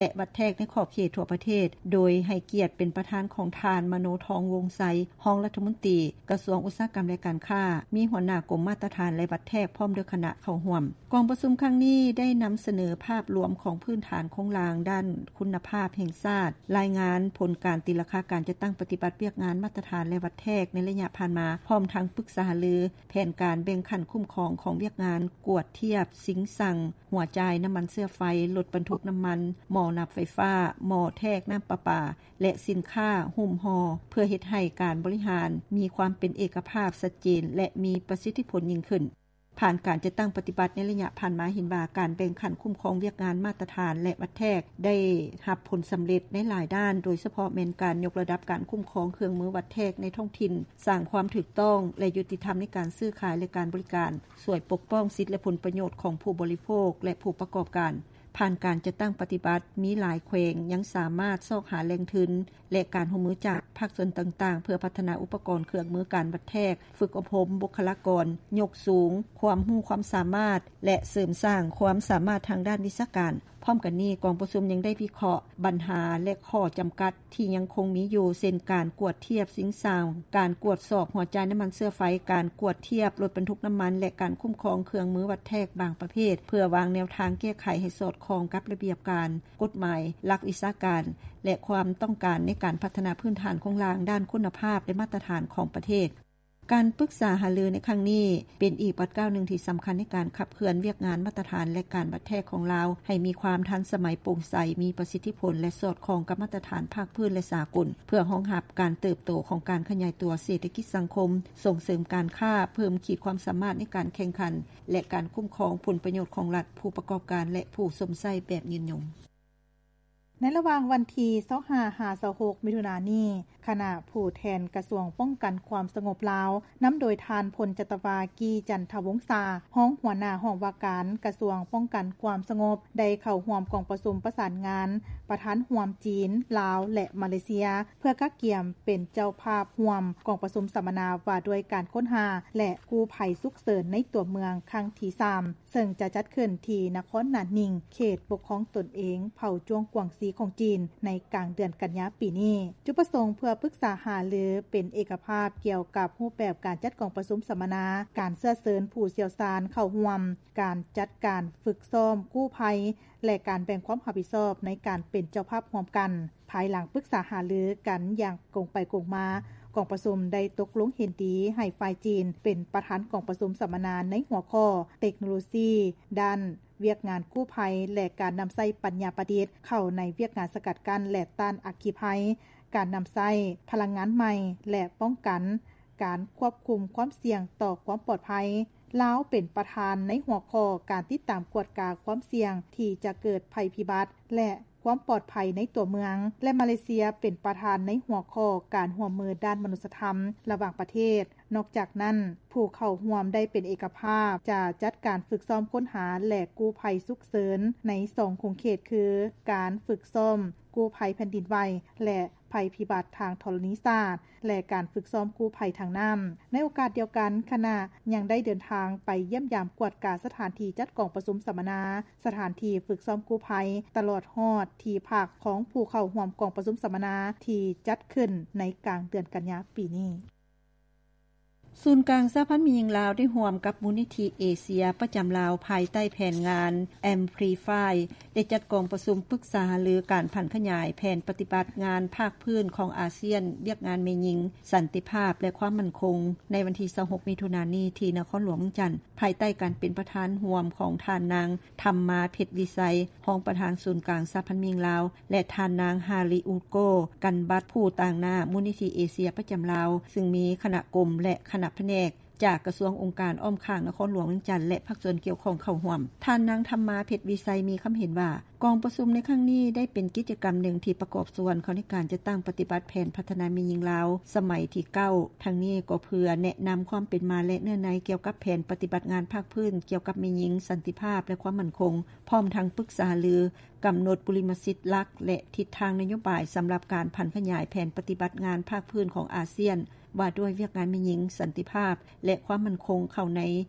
ແລະ ວັດແທກໃນຂອບເຂດທົ່ວປະເທດ, ໂດຍໃຫ້ກຽດເປັນປະທານຂອງທ່ານ ມະໂນທອງ ວົງໄຊ, ຮອງລັດຖະມົນຕີກະຊວງອຸດສາຫະກຳ ແລະ ການຄ້າ, ມີຫົວໜ້າກົມມາດຕະຖານ ແລະ ວັດແທກ ພ້ອມດ້ວຍຄະນະເຂົ້າຮ່ວມ. ກອງປະຊຸມຄັ້ງນີ້ໄດ້ນຳສະເໜີພາບລວມຂອງພື້ນຖານໂຄງລ່າງດ້ານຄຸນນະພາບແຫ່ງຊາດ, ລາຍງານຜົນການຕີລາຄາການຈັດຕັ້ງປະຕິບັດວຽກງານມາດຕະຖານ ແລະ ວັດແທກໃນໄລຍະຜ່ານມາ, ພ້ອມທັງປຶກສາຫາລືແຜນການແບ່ງຂັ້ນຄຸ້ມຄອງຂອງວຽກງານກວດທຽບ, ຊິງຊັງ, ຫົວຈ່າຍນ້ຳມັນເຊື້ອໄຟ, ລົດບັນທຸກນ້ຳມັນ, ໝໍ້ນັບໄຟຟ້າ, ໝໍ້ແທກນ້ຳປະປາ ແລະ ສິນຄ້າຫຸ້ມຫໍ່ ເພື່ອເຮັດໃຫ້ການບໍລິຫານມີຄວາມເປັນເອກະພາບ, ຊັດເຈນ ແລະ ມີປະສິດທິຜົນຍິ່ງຂຶ້ນ. ຜ່ານການຈັດຕັ້ງປະຕິບັດໃນໄລຍະຜ່ານມາ ເຫັນວ່າການແບ່ງຂັ້ນຄຸ້ມຄອງວຽກງານມາດຕະຖານ ແລະ ວັດແທກ ໄດ້ຮັບຜົນສຳເລັດໃນຫຼາຍດ້ານ, ໂດຍສະເພາະແມ່ນການຍົກລະດັບການຄຸ້ມຄອງເຄື່ອງມືວັດແທກໃນທ້ອງຖິ່ນ, ສ້າງຄວາມຖືກຕ້ອງ ແລະ ຍຸຕິທຳໃນການຊື້ຂາຍ ແລະ ການບໍລິການ, ຊ່ວຍປົກປ້ອງສິດ ແລະ ຜົນປະໂຫຍດຂອງຜູ້ບໍລິໂພກ ແລະ ຜູ້ປະກອບການ. ຜ່ານການຈັດຕັ້ງປະຕິບັດ, ມີຫຼາຍແຂວງຍັງສາມາດຊອກຫາແຫຼ່ງທຶນ ແລະ ການຮ່ວມມືຈາກພາກສ່ວນຕ່າງໆ ເພື່ອພັດທະນາອຸປະກອນເຄື່ອງມືການວັດແທກ, ຝຶກອົບຮົມບຸກຄະລາກອນ, ຍົກສູງຄວາມຮູ້ຄວາມສາມາດ ແລະ ເສີມສ້າງຄວາມສາມາດທາງດ້ານວິຊາການ. ພ້ອມກັນນີ້, ກອງປະຊຸມຍັງໄດ້ວິເຄາະບັນຫາ ແລະ ຂໍ້ຈຳກັດທີ່ຍັງຄົງມີຢູ່, ເຊັ່ນ ການກວດທຽບຊິງຊາງ, ການກວດສອບຫົວຈ່າຍນ້ຳມັນເຊື້ອໄຟ, ການກວດທຽບລົດບັນທຸກນ້ຳມັນ ແລະ ການຄຸ້ມຄອງເຄື່ອງມືວັດແທກບາງປະເພດ, ເພື່ອວາງແນວທາງແກ້ໄຂໃຫ້ສອດຄ່ອງກັບລະບຽບການ, ກົດໝາຍ, ຫຼັກວິຊາການ ແລະ ຄວາມຕ້ອງການໃນການພັດທະນາພື້ນຖານໂຄງລ່າງດ້ານຄຸນນະພາບ ແລະ ມາດຕະຖານຂອງປະເທດ. ການປຶກສາຫາລືໃນຄັ້ງນີ້ ເປັນອີກບາດກ້າວໜຶ່ງທີ່ສຳຄັນໃນການຂັບເຄື່ອນວຽກງານມາດຕະຖານ ແລະ ການວັດແທກຂອງລາວ ໃຫ້ມີຄວາມທັນສະໄໝ, ໂປ່ງໃສ, ມີປະສິດທິຜົນ ແລະ ສອດຄ່ອງກັບມາດຕະຖານພາກພື້ນ ແລະ ສາກົນ, ເພື່ອຮອງຮັບການເຕີບໂຕຂອງການຂະຫຍາຍຕົວເສດຖະກິດສັງຄົມ, ສົ່ງເສີມການຄ້າ, ເພີ່ມຂີດຄວາມສາມາດໃນການແຂ່ງຂັນ ແລະ ການຄຸ້ມຄອງຜົນປະໂຫຍດຂອງລັດ, ຜູ້ປະກອບການ ແລະ ຜູ້ຊົມໃຊ້ແບບຍືນຍົງ. ໃນລະຫວ່າງວັນທີຊາວຫ້າ ຫາ ຊາວຫົກ ມິຖຸນານີ້, ຄະນະຜູ້ແທນກະຊວງປ້ອງກັນຄວາມສະຫງົບລາວ ນຳໂດຍທ່ານ ພົນຈັດຕະວາ ກີ່ຈັນທະວົງສາ, ຮອງຫົວໜ້າຫ້ອງວ່າການກະຊວງປ້ອງກັນຄວາມສະຫງົບ ໄດ້ເຂົ້າຮ່ວມກອງປະຊຸມປະສານງານປະທານຮ່ວມຈີນ, ລາວ ແລະ ມາເລເຊຍ ເພື່ອກະກຽມເປັນເຈົ້າພາບຮ່ວມກອງປະຊຸມສຳມະນາວ່າດ້ວຍການຄົ້ນຫາ ແລະ ກູ້ໄພສຸກເສີນໃນຕົວເມືອງຄັ້ງທີສາມ ເຊິ່ງຈະຈັດຂຶ້ນທີ່ນະຄອນໜານໜິງ, ເຂດປົກຄອງຕົນເອງເຜົ່າຈົວງກວາງຊີຂອງຈີນ ໃນກາງເດືອນກັນຍາປີນີ້. ຈຸດປະສົງເພື່ອປຶກສາຫາລືເປັນເອກະພາບກ່ຽວກັບຮູບແບບການຈັດກອງປະຊຸມສຳມະນາ, ການເຊື້ອເຊີນຜູ້ຊ່ຽວຊານເຂົ້າຮ່ວມ, ການຈັດການຝຶກຊ້ອມກູ້ໄພ ແລະ ການແບ່ງຄວາມຮັບຜິດຊອບໃນການເປັນເຈົ້າພາບຮ່ວມກັນ. ພາຍຫຼັງປຶກສາຫາລືກັນຢ່າງກົງໄປກົງມາ, ກອງປະຊຸມໄດ້ຕົກລົງເຫັນດີໃຫ້ຝ່າຍຈີນເປັນປະທານກອງປະຊຸມສຳມະນາໃນຫົວຂໍ້ ເຕັກໂນໂລຊີດ້ານວຽກງານກູ້ໄພ ແລະ ການນຳໃຊ້ປັນຍາປະດິດເຂົ້າໃນວຽກງານສະກັດກັ້ນ ແລະ ຕ້ານອັກຄີໄພ, ການນຳໃຊ້ພະລັງງານໃໝ່ ແລະ ປ້ອງກັນການຄວບຄຸມຄວາມສ່ຽງຕໍ່ຄວາມປອດໄພ. ລາວເປັນປະທານໃນຫົວຂໍ້ການຕິດຕາມກວດກາຄວາມສ່ຽງທີ່ຈະເກີດໄພພິບັດ ແລະ ຄວາມປອດໄພໃນຕົວເມືອງ ແລະ ມາເລເຊຍເປັນປະທານໃນຫົວຂໍ້ການຮ່ວມມືດ້ານມະນຸດສະທຳລະຫວ່າງປະເທດ. ນອກຈາກນັ້ນ, ຜູ້ເຂົ້າຮ່ວມໄດ້ເປັນເອກະພາບຈະຈັດການຝຶກຊ້ອມຄົ້ນຫາ ແລະ ກູ້ໄພສຸກເສີນໃນສອງຂົງເຂດ ຄື ການຝຶກຊ້ອມກູ້ໄພແຜ່ນດິນໄຫວ ແລະ ໄພພິບັດທາງທໍລະນີສາດ ແລະ ການຝຶກຊ້ອມກູ້ໄພທາງນ້ຳ. ໃນໂອກາດດຽວກັນ, ຄະນະຍັງໄດ້ເດີນທາງໄປຢ້ຽມຢາມກວດກາສະຖານທີ່ຈັດກອງປະຊຸມສຳມະນາ, ສະຖານທີ່ຝຶກຊ້ອມກູ້ໄພ, ຕະຫຼອດຮອດທີ່ພັກຂອງຜູ້ເຂົ້າຮ່ວມກອງປະຊຸມສຳມະນາທີ່ຈັດຂຶ້ນໃນກາງເດືອນກັນຍາປີນີ້. ສູນກາງສະຫະພັນແມ່ຍິງລາວ ໄດ້ຮ່ວມກັບມູນນິທິເອເຊຍປະຈຳລາວ ພາຍໃຕ້ແຜນງານ Amplify ໄດ້ຈັດກອງປະຊຸມປຶກສາຫາລືການຜັນຂະຫຍາຍແຜນປະຕິບັດງານພາກພື້ນຂອງອາຊຽນ, ວຽກງານແມ່ຍິງ, ສັນຕິພາບ ແລະ ຄວາມໝັ້ນຄົງ ໃນວັນທີຊາວຫົກ ມິຖຸນານີ້ ທີ່ນະຄອນຫຼວງວຽງຈັນ, ພາຍໃຕ້ການເປັນປະທານຮ່ວມຂອງທ່ານນາງ ທຳມາ ເພັດວິໄຊ, ຮອງປະທານສູນກາງສະຫະພັນແມ່ຍິງລາວ ແລະ ທ່ານນາງ ຮາລິອຸໂກ ກັນບັດ, ຜູ້ຕາງໜ້າມູນນິທິເອເຊຍປະຈຳລາວ, ຊຶ່ງມີຄະນະກົມ ແລະ ຄະນະພະແນກ ຈາກກະຊວງ, ອົງການອ້ອມຂ້າງນະຄອນຫຼວງວຽງຈັນ ແລະ ພາກສ່ວນກ່ຽວຂ້ອງເຂົ້າຮ່ວມ. ທ່ານນາງ ທຳມາ ເພັດວິໄຊ ມີຄຳເຫັນວ່າ, ກອງປະຊຸມໃນຄັ້ງນີ້ໄດ້ເປັນກິດຈະກຳໜຶ່ງທີ່ປະກອບສ່ວນເຂົ້າໃນການຈັດຕັ້ງປະຕິບັດແຜນພັດທະນາແມ່ຍິງລາວສະໄໝທີເກົ້າ, ທັງນີ້ກໍເພື່ອແນະນຳຄວາມເປັນມາ ແລະ ເນື້ອໃນກ່ຽວກັບແຜນປະຕິບັດງານພາກພື້ນກ່ຽວກັບແມ່ຍິງ, ສັນຕິພາບ ແລະ ຄວາມໝັ້ນຄົງ, ພ້ອມທັງປຶກສາຫາລືກຳນົດບຸລິມະສິດຫຼັກ ແລະ ທິດທາງນະໂຍບາຍສຳລັບການຜັນຂະຫຍາຍແຜນປະຕິບັດງານພາກພື້ນຂອງອາຊຽນ ວ່າດ້ວຍວຽກງານແມ່ຍິງ, ສັນຕິພາບ ແລະ ຄວາມໝັ້ນຄົງເຂົ້າໃນ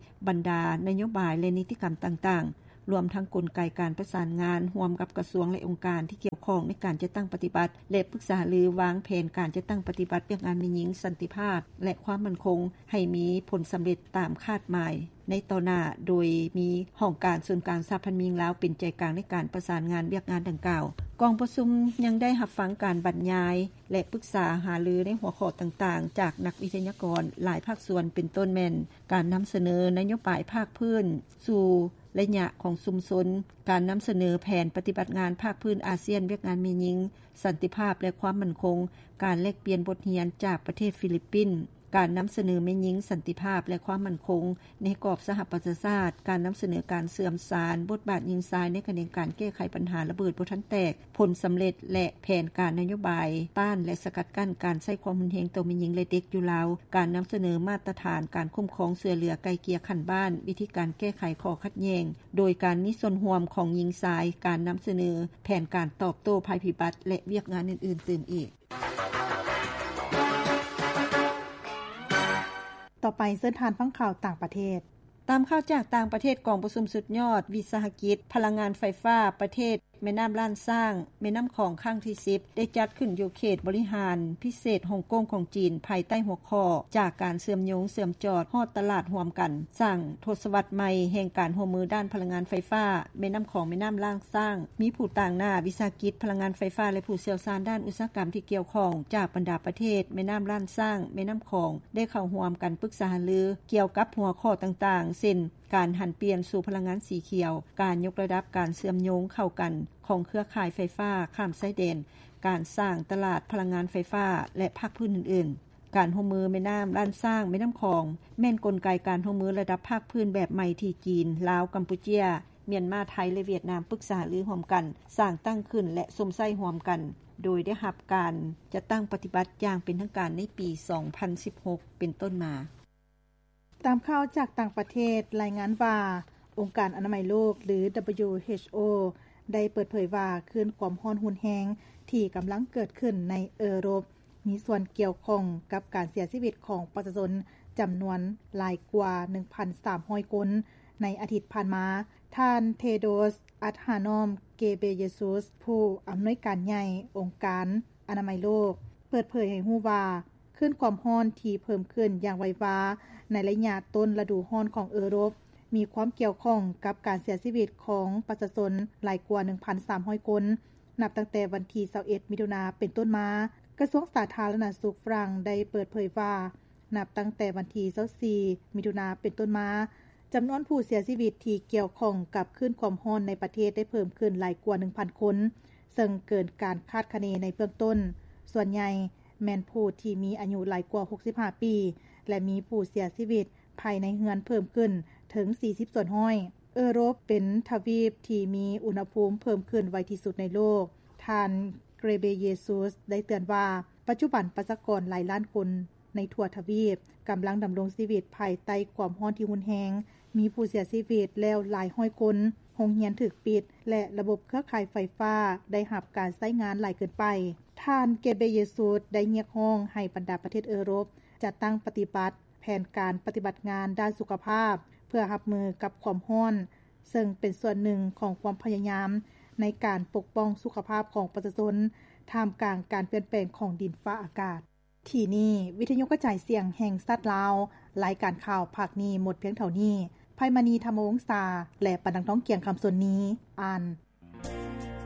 ບັນດານະໂຍບາຍ ແລະ ນິຕິກຳຕ່າງໆ. ລວມທັງກົນໄກການປະສານງານຮ່ວມກັບກະຊວງ ແລະ ອົງການທີ່ກ່ຽວຂ້ອງ ໃນການຈັດຕັ້ງປະຕິບັດ ແລະ ປຶກສາຫາລືວາງແຜນການຈັດຕັ້ງປະຕິບັດວຽກງານແມ່ຍິງ, ສັນຕິພາບ ແລະ ຄວາມໝັ້ນຄົງ ໃຫ້ມີຜົນສຳເລັດຕາມຄາດໝາຍໃນຕໍ່ໜ້າ, ໂດຍມີຫ້ອງການສູນກາງສະຫະພັນແມ່ຍິງລາວເປັນໃຈກາງໃນການປະສານງານວຽກງານດັ່ງກ່າວ. ກອງປະຊຸມຍັງໄດ້ຮັບຟັງການບັນຍາຍ ແລະ ປຶກສາຫາລືໃນຫົວຂໍ້ຕ່າງໆ ຈາກນັກວິທະຍາກອນຫຼາຍພາກສ່ວນ ເປັນຕົ້ນແມ່ນ ການນຳສະເໜີນະໂຍບາຍພາກພື້ນສູ່ໄລຍະຂອງຊຸມຊົນ, ການນຳສະເໜີແຜນປະຕິບັດງານພາກພື້ນອາຊຽນວຽກງານແມ່ຍິງ, ສັນຕິພາບ ແລະ ຄວາມໝັ້ນຄົງ, ການແລກປ່ຽນບົດຮຽນຈາກປະເທດຟີລິບປິນ, ການນຳສະເໜີແມ່ຍິງ, ສັນຕິພາບ ແລະ ຄວາມໝັ້ນຄົງໃນກອບສະຫະປະຊາຊາດ, ການນຳສະເໜີການເຊື່ອມສານບົດບາດຍິງຊາຍໃນຂະແໜງການແກ້ໄຂບັນຫາລະເບີດບໍ່ທັນແຕກ, ຜົນສຳເລັດ ແລະ ແຜນການນະໂຍບາຍຕ້ານ ແລະ ສະກັດກັ້ນການໃຊ້ຄວາມຮຸນແຮງຕໍ່ແມ່ຍິງ ແລະ ເດັກຢູ່ລາວ, ການນຳສະເໜີມາດຕະຖານການຄຸ້ມຄອງຊ່ວຍເຫຼືອໄກ່ເກ່ຍຂັ້ນບ້ານ, ວິທີການແກ້ໄຂຂໍ້ຂັດແຍ່ງ ໂດຍການມີສ່ວນຮ່ວມຂອງຍິງຊາຍ, ການນຳສະເໜີແຜນການຕອບໂຕ້ໄພພິບັດ ແລະ ວຽກງານອື່ນໆຕື່ມອີກ. ຕໍ່ໄປເຊີນທ່ານຟັງຂ່າວຕ່າງປະເທດ. ຕາມຂ່າວຈາກຕ່າງປະເທດ, ກອງປະຊຸມສຸດຍອດວິສາຫະກິດພະລັງງານໄຟຟ້າປະເທດແມ່ນ້ຳລ້ານຊ້າງ ແມ່ນ້ຳຂອງຄັ້ງທີສິບ ໄດ້ຈັດຂຶ້ນຢູ່ເຂດບໍລິຫານພິເສດຮົງກົງຂອງຈີນ ພາຍໃຕ້ຫົວຂໍ້ ຈາກການເຊື່ອມໂຍງເຊື່ອມຈອດຮອດຕະຫຼາດຮ່ວມກັນ ສ້າງທົດສະວັດໃໝ່ແຫ່ງການຮ່ວມມືດ້ານພະລັງງານໄຟຟ້າ ແມ່ນ້ຳຂອງ ແມ່ນ້ຳລ້ານຊ້າງ. ມີຜູ້ຕາງໜ້າວິສາຫະກິດພະລັງງານໄຟຟ້າ ແລະ ຜູ້ຊ່ຽວຊານດ້ານອຸດສາຫະກຳທີ່ກ່ຽວຂ້ອງຈາກບັນດາປະເທດແມ່ນ້ຳລ້ານຊ້າງ ແມ່ນ້ຳຂອງ ໄດ້ເຂົ້າຮ່ວມກັນປຶກສາຫາລືກ່ຽວກັບຫົວຂໍ້ຕ່າງໆ ເຊັ່ນ ການຫັນປ່ຽນສູ່ພະລັງງານສີຂຽວ, ການຍົກລະດັບການເຊື່ອມໂຍງເຂົ້າກັນຂອງເຄືອຂ່າຍໄຟຟ້າຂ້າມຊາຍແດນ, ການສ້າງຕະຫຼາດພະລັງງານໄຟຟ້າ ແລະ ພາກພື້ນອື່ນໆ. ການຮ່ວມມືແມ່ນ້ຳລ້ານຊ້າງ ແມ່ນ້ຳຂອງ ແມ່ນກົນໄກການຮ່ວມມືລະດັບພາກພື້ນແບບໃໝ່ທີ່ຈີນ, ລາວ, ກຳປູເຈຍ, ມຽນມາ, ໄທ ແລະ ຫວຽດນາມ ປຶກສາຫາລືຮ່ວມກັນ, ສ້າງຕັ້ງຂຶ້ນ ແລະ ຊົມໃຊ້ຮ່ວມກັນ, ໂດຍໄດ້ຮັບການຈັດຕັ້ງປະຕິບັດຢ່າງເປັນທາງການໃນປີສອງພັນສິບຫົກເປັນຕົ້ນມາ. ຕາມຂ່າວຈາກຕ່າງປະເທດລາຍງານວ່າ ອົງການອະນາໄມໂລກ ຫຼື WHO ໄດ້ເປີດເຜີຍວ່າ ຄື້ນຄວາມຮ້ອນຮຸນແຮງທີ່ກຳລັງເກີດຂຶ້ນໃນເອີຣົບ ມີສ່ວນກ່ຽວຂ້ອງກັບການເສຍຊີວິດຂອງປະຊາຊົນຈຳນວນຫຼາຍກວ່າໜຶ່ງພັນສາມຮ້ອຍຄົນໃນອາທິດຜ່ານມາ. ທ່ານ Tedros Adhanom Ghebreyesus ຜູ້ອຳນວຍການໃຫຍ່ອົງການອະນາໄມໂລກ ເປີດເຜີຍໃຫ້ຮູ້ວ່າ ຄື້ນຄວາມຮ້ອນທີ່ເພີ່ມຂຶ້ນຢ່າງໄວວາໃນໄລຍະຕົ້ນລະດູຮ້ອນຂອງເອີຣົບ ມີຄວາມກ່ຽວຂ້ອງກັບການເສຍຊີວິດຂອງປະຊາຊົນຫຼາຍກວ່າໜຶ່ງພັນສາມຮ້ອຍຄົນ ນັບຕັ້ງແຕ່ວັນທີຊາວເອັດ ມິຖຸນາເປັນຕົ້ນມາ. ກະຊວງສາທາລະນະສຸກຝຣັ່ງໄດ້ເປີດເຜີຍວ່າ ນັບຕັ້ງແຕ່ວັນທີຊາວສີ່ ມິຖຸນາເປັນຕົ້ນມາ, ຈຳນວນຜູ້ເສຍຊີວິດທີ່ກ່ຽວຂ້ອງກັບຄື້ນຄວາມຮ້ອນໃນປະເທດໄດ້ເພີ່ມຂຶ້ນຫຼາຍກວ່າໜຶ່ງພັນຄົນ, ເຊິ່ງເກີນການຄາດຄະເນໃນເບື້ອງຕົ້ນ. ສ່ວນໃຫຍ່ແມ່ນຜູ້ທີ່ມີອາຍຸຫຼາຍກວ່າຫົກສິບຫ້າປີ ແລະ ມີຜູ້ເສຍຊີວິດພາຍໃນເຮືອນເພີ່ມຂຶ້ນເຖິງສີ່ສິບສ່ວນຮ້ອຍ. ເອີຣົບເປັນທະວີບທີ່ມີອຸນຫະພູມເພີ່ມຂຶ້ນໄວທີ່ສຸດໃນໂລກ. ທ່ານ Ghebreyesus ໄດ້ເຕືອນວ່າ ປັດຈຸບັນປະຊາກອນຫຼາຍລ້ານຄົນໃນທົ່ວທະວີບກຳລັງດຳລົງຊີວິດພາຍໃຕ້ຄວາມຮ້ອນທີ່ຮຸນແຮງ, ມີຜູ້ເສຍຊີວິດແລ້ວຫຼາຍຮ້ອຍຄົນ, ໂຮງຮຽນຖືກປິດ ແລະ ລະບົບເຄືອຂ່າຍໄຟຟ້າໄດ້ຮັບການໃຊ້ງານຫຼາຍເກີນໄປ. ທ່ານ Ghebreyesus ໄດ້ຮຽກຮ້ອງໃຫ້ບັນດາປະເທດເອີຣົບຈັດຕັ້ງປະຕິບັດ ແຜນການປະຕິບັດງານດ້ານສຸຂະພາບ ເພື່ອຮັບມືກັບຄວາມຮ້ອນ, ເຊິ່ງເປັນສ່ວນໜຶ່ງຂອງຄວາມພະຍາຍາມໃນການປົກປ້ອງສຸຂະພາບຂອງປະຊາຊົນ ທ່າມກາງການປ່ຽນແປງຂອງດິນຟ້າອາກາດ. ທີ່ນີ້ ວິທະຍຸກະຈາຍສຽງແຫ່ງຊາດລາວ, ລາຍການຂ່າວພາກນີ້ໝົດພຽງເທົ່ານີ້. ໄພມະນີ ທຳມະວົງສາ ແລະ ປານດັງ ທອງກຽງ ຄຳສົນນີ ອ່ານ.